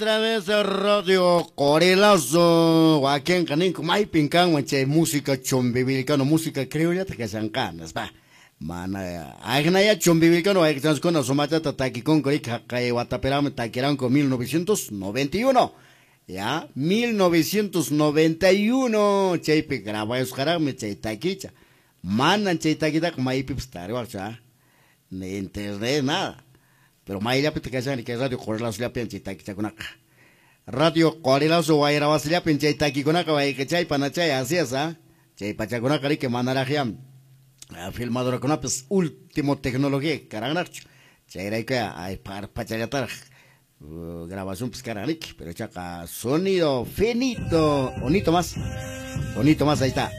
Otra vez Radio Qorilazo wakinqa ninku maypin kanman chay música chumbivilcano música criollata kashanqa nispa mana agnaya chumbivilcano wayqichanskuna sumachata takikunku riki haqay watapiraqmi takiranku 1991 ya 1991 chaypi grabayusqaraqmi chay takicha manan chay takitaqa maypipas tariwaqchu ni internet nada. Pero mayllapita kashan kay Radio Qorilazollapin chay takichakunaqa. Radio Qorilazo wayrawasillapin chay takikunaqa wayqichay panachay así es, ¿ah? Chay pachakunaqa riki manaraqyam filmadorakunapis último tecnología karanraqchu. Chayrayku ay parpachallataraq grabacionpis karan riki, pero chaqa sonido finito, onito más, ahí está.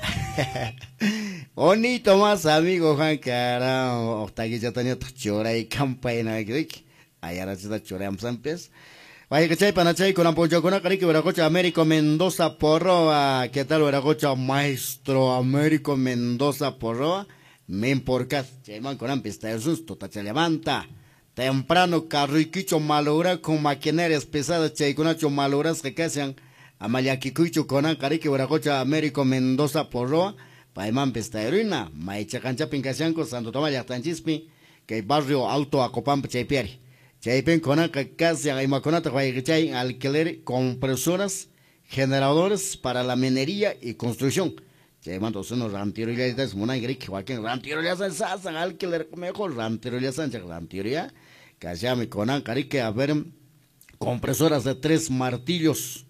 Onito más, amigo Juan, carajo, takichatañataq churay campaña riki, ayarachita churayamsanpis. Wayqichay panachay kunan punchawkunaqa riki Wiraqucha Américo Mendoza Porroa. ¿Qué tal Wiraqucha maestro Américo Mendoza Porroa? Menporcat, chayman kunanpis tayusunchis tutachallamanta. Temprano carruykicho malogra con maquinarias pesadas chaykunacho malograsqa kashan. Ama llakikuychu kunanqa riki Wiraqucha Américo Mendoza Porroa. Paymanpis tayruina, maychaqanchapin kashanku Santo Tomás llaqtanchispi, kay barrio Alto Acopampa chaypiari. Chaypin kunanqa kashan imakunata wayqichay alquiler compresoras, generadores para la minería y construcción. Chaymanta uno rantirullatas munan riki wakin rantirullasan sasan alquiler mejor rantirullasan chay rantiruya. Kashami kunanqa riki a ver compresoras de 3 martillos.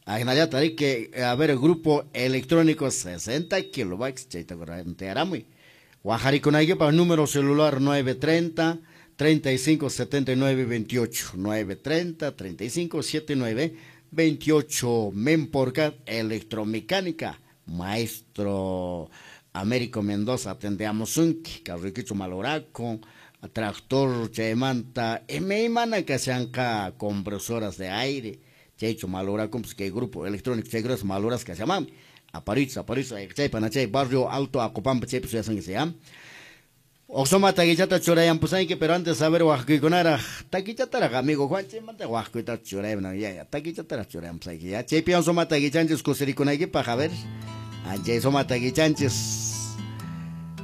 Agnallata riki a ver grupo electrónico 60 kilobytes chayta rantiaramuy. Wajarikunaykipa número celular 930 35 79 28 930 35 79 28 Menporcat Electromecánica Maestro Américo Mendoza atendeamos unki carriquicho maloraco tractor chaymanta imaymana kashanqa compresoras de aire chaycho maloraco pues que grupo electrónico chaykunas maloras kashaman aparicho chay panachay barrio Alto Acopampa chaypi suyasan que se llama. Oxoma takichata churayampusanki, pero antes a ver wajkuykunaraq takichataraq amigo Juan chaymanta wajkuyta churayamna ya takichataraq churayampusanki ya chaypiwan suma takichanchis kusirikunaykipaq a ver chay suma takichanchis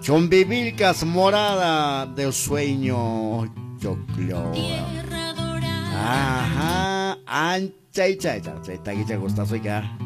Chumbivilcas morada del sueño choclo. Ajá, anchay chay chay takicha gustazo ya.